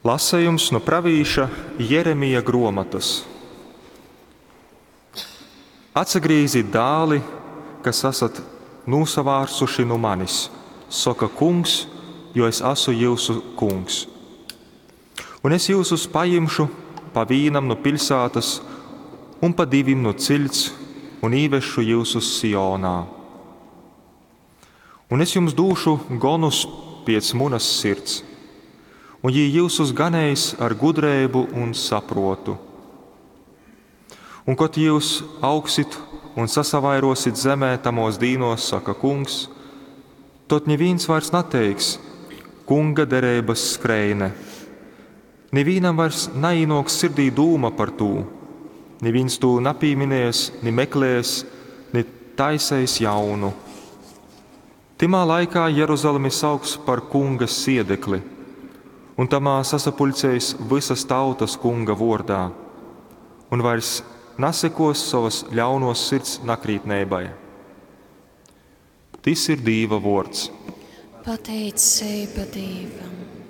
Lasejums nu pravīša Jeremija gruomotys. Atsagrīzit, dāli, kas asat nūsavārsuši nu manis, soka Kungs, jo es asu jyusu Kungs. Un es jyusus pajimšu pa vīnam nu piļsātas un pa divim nu ciļts un īvesšu jyusus Sionā. Un es jums dūšu gonus piec munas sirds, un jī jyusus ganeis ar gudreibu un sapruotu. Un kod jyus augsit un sasavairuosit zemē tamuos dīnuos, saka Kungs, tod nivīns vairs nateiks: Kunga dereibys skreine. Nivīnam vairs naīnuoks sirdī dūma par tū, nivīns tū napīminies, ni meklēs, ni taiseis jaunu. Tymā laikā Jeruzalemi sauks par Kunga siedekli, un tamā sasapuļceis vysas tautas Kunga vuordā, un vairs nasekuos sovas ļaunuos sirds nakrītneibai. Tys ir Dīva vuords. Pateiceiba Dīvam.